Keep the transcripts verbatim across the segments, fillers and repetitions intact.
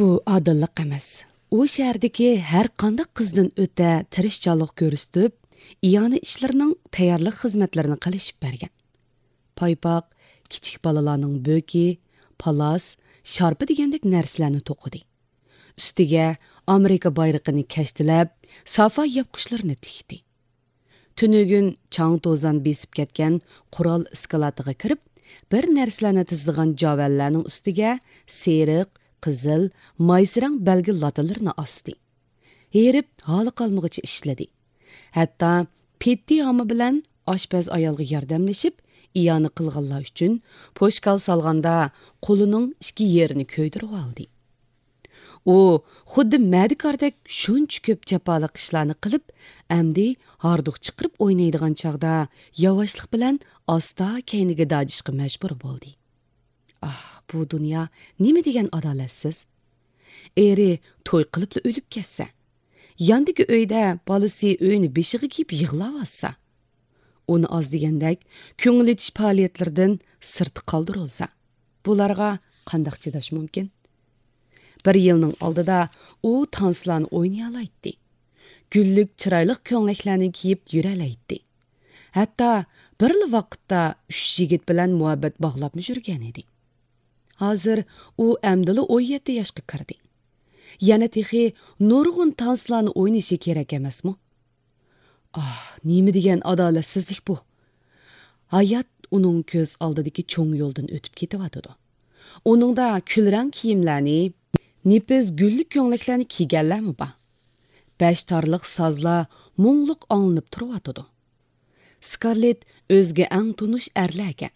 بۇ ئادىللىق ئەمەس. ئۇ شەھەردىكى ھەر قانداق قىزدىن ئۆتە تىرىشچانلىق كۆرسىتىپ، ئىئانە ئىشلىرىنىڭ تەييارلىق خىزمەتلىرىنى قىلىشىپ بەرگەن. پايپاق، كىچىك بالىلارنىڭ بۆكى، پالاس، شارپا دېگەندەك نەرسىلەرنى توقۇدى. ئۈستىگە ئامېرىكا بايرىقىنى كەشتىلەپ، سافا ياپقۇچلىرىنى تىكتى. تۈنۈگۈن چاڭ-توزان بېسىپ كەتكەن قورال ئىسكىلاتىغا كىرىپ، بىر نەرسىلەرنى تىزىدىغان جاۋەنلەرنىڭ ئۈستىگە سېرىق، قىزىل، مايسا رەڭ بەلگە لاتىلىرىنى ئاستى. ھېرىپ، ھالى قالمىغۇچە ئىشلىدى. ھەتتا پېتتى ھاما بىلەن ئاشپەز ئايالغا ياردەملىشىپ، ئىئانە قىلغانلار ئۈچۈن پوشكال سالغاندا قولىنىڭ ئىككى يېرىنى كۆيدۈرۈۋالدى. ئۇ خۇددى مەدىكاردەك شۇنچە كۆپ جاپالىق ئىشلارنى قىلىپ، ئەمدى ھاردۇق چىقىرىپ ئوينايدىغان چاغدا ياۋاشلىق بىلەن ئاستا كەينىگە داجىشقا مەجبۇر بولدى. ئاھ، بۇ دۇنيا نېمە دېگەن ئادالەتسىز! ئېرى توي قىلىپلا ئۆلۈپ كەتسە، ياندىكى ئۆيدە بالىسى ئۆينى بېشىغا كىيىپ يىغلاۋاتسا، ئۇنى ئاز دېگەندەك كۆڭۈل ئېچىش پائالىيەتلىرىدىن سىرتتا قالدۇرۇلسا، بۇلارغا قانداق چىداش مۇمكىن؟ بىر يىلنىڭ ئالدىدا ئۇ تانسىلارنى ئوينىيالايتتى. گۈللۈك چىرايلىق كۆڭلەكلەرنى كىيىپ يۈرەلەيتتى. ھەتتا بىرلا ۋاقىتتا ئۈچ يىگىت بىلەن مۇھەببەت باغلاپمۇ يۈرگەن ئىدى. ھازىر ئۇ ئەمدىلا ئون يەتتە ياشقا كىردى. يەنە تېخى نۇرغۇن تانسىلارنى ئوينىشى كېرەك ئەمەسمۇ؟ ئاھ، نېمە دېگەن ئادالەتسىزلىك بۇ! ھايات ئۇنىڭ كۆز ئالدىدىكى چوڭ يولدىن ئۆتۈپ كېتىۋاتىدۇ. ئۇنىڭدا كۈلرەڭ كىيىملەرنى، نېپىز گۈللۈك كۆڭلەكلەرنى كىيگەنلەرمۇ بار. بەش تارلىق سازلار مۇڭلۇق ئاڭلىنىپ تۇرۇۋاتىدۇ. سكارلېت ئۆزىگە ئەڭ تونۇش ئەرلەرگە،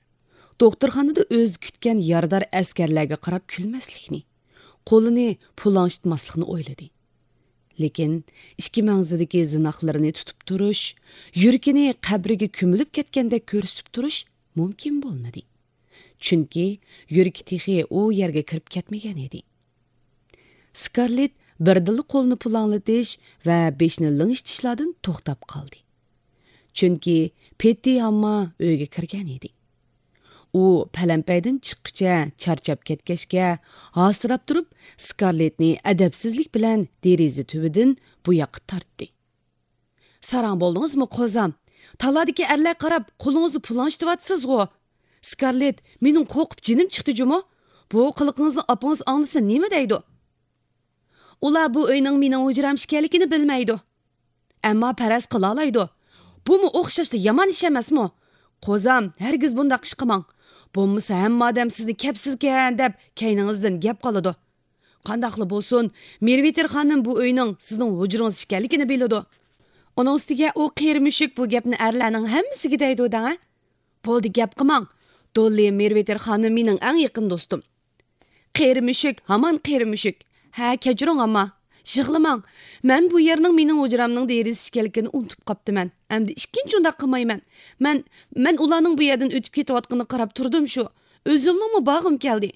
دوختۇرخانىدا ئۆزى كۈتكەن يارىدار ئەسكەرلەرگە قاراپ كۈلمەسلىكنى، قولىنى پۇلاڭشىتماسلىقنى ئويلىدى. لېكىن ئىككى مەڭزىدىكى زىناقلىرىنى تۇتۇپ تۇرۇش، يۈرىكىنى قەبرىگە كۆمۈلۈپ كەتكەندەك كۆرسىتىپ تۇرۇش مۇمكىن بولمىدى. چۈنكى يۈرىكى تېخى ئۇ يەرگە كىرىپ كەتمىگەن ئىدى. سكارلېت بىردىنلا قولىنى پۇلاڭلىتىش ۋە بېشىنى لىڭشىتىشلاردىن توختاپ قالدى. چۈنكى پېتتى ھامما ئۆيگە كىرگەن ئىدى. ئۇ پەلەمپەيدىن چىققىچە چارچاپ كەتكەچكە، ھاسىراپ تۇرۇپ، سكارلېتنى ئەدەپسىزلىك بىلەن دېرىزە تۈۋىدىن بۇ ياققا تارتتى. ساراڭ بولدىڭىزمۇ، قوزام؟ تالادىكى ئەرلەر قاراپ، قولىڭىزنى پۇلاڭشىتىۋاتىسىزغۇ. سكارلېت، مېنىڭ قورقۇپ جېنىم چىقتى جۇمۇ. بۇ قىلىقىڭىزنى ئاپىڭىز ئاڭلىسا نېمە دەيدۇ؟ ئۇلار بۇ ئۆينىڭ مېنىڭ ھۇجرام ئىكەنلىكىنى بىلمەيدۇ. ئەمما پەرەز قىلالايدۇ. بۇمۇ ئوخشاشلا يامان ئىش ئەمەسمۇ؟ قوزام، ھەرگىز بۇنداق ئىش قىلماڭ. بولمىسا ھەممە ئادەم سىزنى كەپسىزكەن دەپ كەينىڭىزدىن گەپ قىلىدۇ. قانداقلا بولسۇن، مېرۋېتېر خانىم بۇ ئۆينىڭ سىزنىڭ ھۇجرىڭىز ئىكەنلىكىنى بىلىدۇ. ئۇنىڭ ئۈستىگە ئۇ قېرى مۈشۈك بۇ گەپنى ئەرلەرنىڭ ھەممىسىگە دەيدۇ دەڭە. بولدى، گەپ قىلماڭ. دوللى، مېرۋېتېر خانىم مېنىڭ ئەڭ يېقىن دوستۇم. قېرى مۈشۈك، ھامان قېرى مۈشۈك. ھە، كەچۈرۈڭ ئەمما. يىغلىماڭ. مەن بۇ يەرنىڭ مېنىڭ ھۇجرامنىڭ دېرىزىسى ئىكەنلىكىنى ئۇنتۇپ قاپتىمەن. ئەمدى ئىككىنچى ئۇنداق قىلمايمەن. مەن، مەن ئۇلارنىڭ بۇ يەردىن ئۆتۈپ كېتىۋاتقىنىغا قاراپ تۇردۇم شۇ. ئۆزۈمنىڭمۇ بارغۇم كەلدى.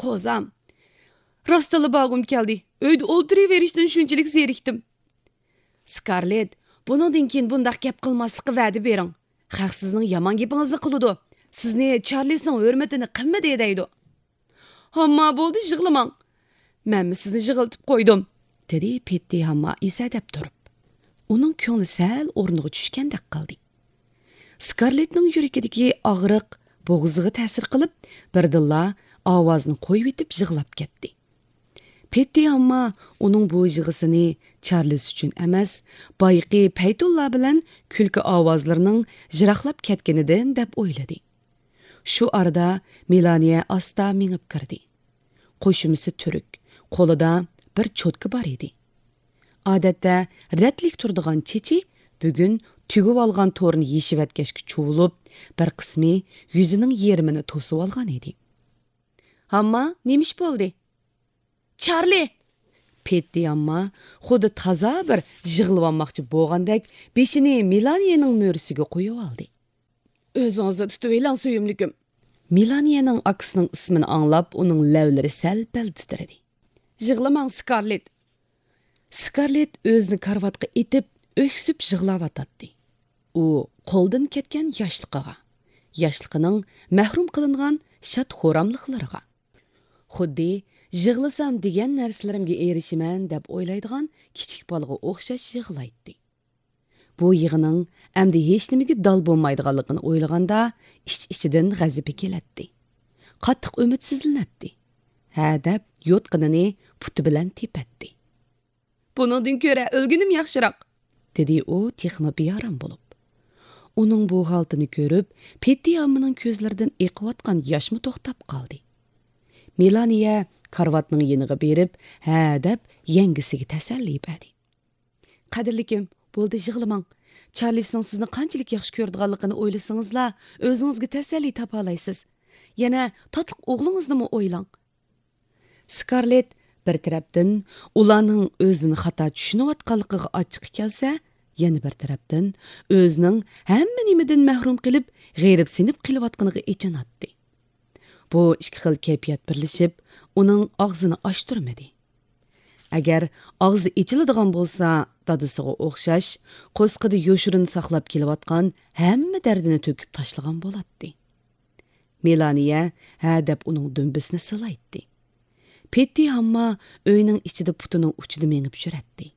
قوزام، راستتىنلا بارغۇم كەلدى. ئۆيدە ئولتۇرۇۋېرىشتىن شۇنچىلىك زېرىكتىم. سكارلېت، بۇنىڭدىن كېيىن بۇنداق گەپ قىلماسلىققا ۋەدە بېرىڭ. خەق سىزنىڭ يامان گېپىڭىزنى قىلىدۇ. سىزنى چارلىسنىڭ ھۆرمىتىنى قىلمىدى دەيدۇ. ھامما، بولدى، يىغلىماڭ. مەنمۇ سىزنى يىغلىتىپ قويدۇم، دېدى پېتتى ھامما ئېسەدەپ تۇرۇپ. ئۇنىڭ كۆڭلى سەل ئورنىغا چۈشكەندەك قىلدى. سكارلېتنىڭ يۈرىكىدىكى ئاغرىق بوغۇزىغا تەسىر قىلىپ، بىردىنلا ئاۋازىنى قويۇۋېتىپ يىغلاپ كەتتى. پېتتى ئامما ئۇنىڭ بۇ يىغىسىنى چارلىس ئۈچۈن ئەمەس، بايىقى پەيتۇللا بىلەن كۈلكە ئاۋازلىرىنىڭ يىراقلاپ كەتكىنىدىن دەپ ئويلىدى. شۇ ئارىدا مېلانىيە ئاستا مېڭىپ كىردى. قوشۇمىسى تۈرك، قولىدا بىر چوتكا بار ئىدى. ئادەتتە رەتلىك تۇرىدىغان چېچى بۈگۈن تۈگۈۋالغان تورنى يېشىۋەتكەچكە چۇۋۇلۇپ، بىر قىسمى يۈزىنىڭ يېرىمىنى توسۇۋالغان ئىدى. ھامما، نېمە ئىش بولدى؟ چارلى! پېتتى ئامما خۇددى تازا بىر يىغلىۋالماقچى بولغاندەك بېشىنى مېلانىيەنىڭ مۈرىسىگە قويۇۋالدى. ئۆزىڭىزنى تۇتۇۋېلىڭ، سۆيۈملۈكۈم. مېلانىيەنىڭ ئاكىسىنىڭ ئىسمىنى ئاڭلاپ، ئۇنىڭ لەۋلىرى سەل-پەل تىترىدى. يىغلىماڭ، سكارلېت. سكارلېت ئۆزىنى كارىۋاتقا ئېتىپ، ئۆكسۈپ يىغلاۋاتاتتى. ئۇ قولدىن كەتكەن ياشلىقىغا، ياشلىقىنىڭ مەھرۇم قىلىنغان شاد-خۇراملىقلىرىغا، خۇددى يىغلىسام دېگەن نەرسىلىرىمگە ئېرىشىمەن دەپ ئويلايدىغان كىچىك بالىغا ئوخشاش يىغلايتتى. بۇ يىغىنىڭ ئەمدى ھېچنېمىگە دال بولمايدىغانلىقىنى ئويلىغاندا، ئىچ-ئىچىدىن غەزىپى كېلەتتى. قاتتىق ئۈمىدسىزلىنەتتى. ھە دەپ يوتقىنىنى پۇتى بىلەن تېپەتتى. بۇنىڭدىن كۆرە ئۆلگىنىم ياخشىراق، دېدى ئۇ تېخىمۇ بىئارام بولۇپ. ئۇنىڭ بۇ ھالىتىنى كۆرۈپ، پېتتى ھاممىنىڭ كۆزلىرىدىن ئېقىۋاتقان ياشمۇ توختاپ قالدى. مېلانىيە كارىۋاتنىڭ يېنىغا بېرىپ، ھە دەپ يەڭگىسىگە تەسەللى بەردى. قەدىرلىكىم، بولدى يىغلىماڭ. چارلىسنىڭ سىزنى قانچىلىك ياخشى كۆرىدىغانلىقىنى ئويلىسىڭىزلا، ئۆزىڭىزگە تەسەللى تاپالايسىز. يەنە تاتلىق ئوغلىڭىزنىمۇ ئويلاڭ. سكارلېت بىر تەرەپتىن ئۇلارنىڭ ئۆزىنى خاتا چۈشىنىۋاتقانلىقىغا ئاچچىقى كەلسە، يەنە بىر تەرەپتىن ئۆزىنىڭ ھەممە نېمىدىن مەھرۇم قېلىپ، غېرىبسىنىپ قېلىۋاتقىنىغا ئېچىناتتى. بۇ ئىككى خىل كەيپىيات بىرلىشىپ، ئۇنىڭ ئاغزىنى ئاچتۇرمىدى. ئەگەر ئاغزى ئېچىلىدىغان بولسا، دادىسىغا ئوخشاش، قورسىقىدا يوشۇرۇن ساقلاپ كېلىۋاتقان ھەممە دەردىنى تۆكۈپ تاشلىغان بولاتتى. مېلانىيە ھە دەپ ئۇنىڭ دۈمبىسىنى سىلايتتى. پېتتى ھامما ئۆينىڭ ئىچىدە پۇتىنىڭ ئۇچىدا مېڭىپ يۈرەتتى.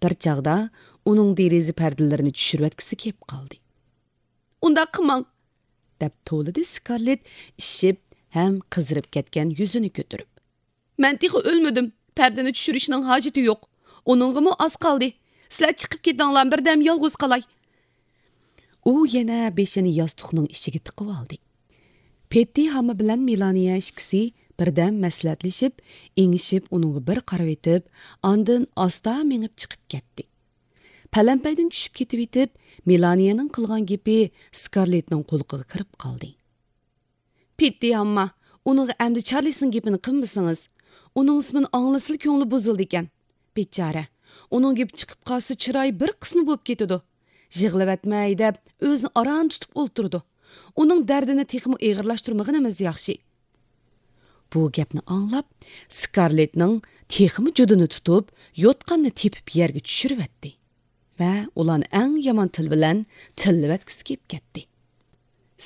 بىر چاغدا ئۇنىڭ دېرىزە پەردىلىرىنى چۈشۈرۈۋەتكۈسى كېلىپ قالدى. ئۇنداق قىلماڭ! دەپ توۋلىدى سكارلېت ئىششىپ ھەم قىزىرىپ كەتكەن يۈزىنى كۆتۈرۈپ. مەن تېخى ئۆلمىدىم، پەردىنى چۈشۈرۈشنىڭ ھاجىتى يوق. ئۇنىڭغىمۇ ئاز قالدى. سىلەر چىقىپ كېتىڭلار، بىردەم يالغۇز قالاي. ئۇ يەنە بېشىنى ياستۇقنىڭ ئىچىگە تىقىۋالدى. پېتتى ھامما بىلەن مېلانىيە ئىككىسى بىردەم مەسلىھەتلىشىپ، ئېڭىشىپ ئۇنىڭغا بىر قارىۋېتىپ، ئاندىن ئاستا مېڭىپ چىقىپ كەتتى. پەلەمپەيدىن چۈشۈپ كېتىۋېتىپ، مېلانىيەنىڭ قىلغان گېپى سكارلېتنىڭ قۇلىقىغا كىرىپ قالدى. پېتتى ھامما، ئۇنىڭغا ئەمدى چارلىسنىڭ گېپىنى قىلمىسىڭىز، ئۇنىڭ ئىسمىنى ئاڭلىسىلا كۆڭلى بۇزۇلىدىكەن. بىچارە، ئۇنىڭ گېپى چىقىپ قالسا چىرايى بىر قىسما بولۇپ كېتىدۇ. يىغلىۋەتمەي دەپ ئۆزىنى ئاران تۇتۇپ ئولتۇرىدۇ. ئۇنىڭ دەردىنى تېخىمۇ ئېغىرلاشتۇرمىغىنىمىز ياخشى. بۇ گەپنى ئاڭلاپ، سكارلېتنىڭ تېخىمۇ جۇدۇنى تۇتۇپ، يوتقاننى تېپىپ يەرگە چۈشۈرۈۋەتتى ۋە ئۇلارنى ئەڭ يامان تىل بىلەن تىللىۋەتكۈسى كېلىپ كەتتى.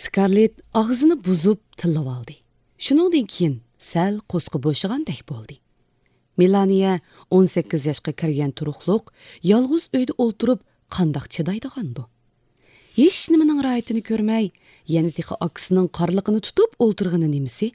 سكارلېت ئاغزىنى بۇزۇپ تىللىۋالدى. شۇنىڭدىن كېيىن سەل قورسىقى بوشىغاندەك بولدى. مېلانىيە ئون سەككىز ياشقا كىرگەن تۇرۇقلۇق، يالغۇز ئۆيدە ئولتۇرۇپ قانداق چىدايدىغاندۇ؟ ھېچنېمىنىڭ راھىتىنى كۆرمەي، يەنە تېخى ئاكىسىنىڭ قارلىقىنى تۇتۇپ ئولتۇرغىنى نېمىسى؟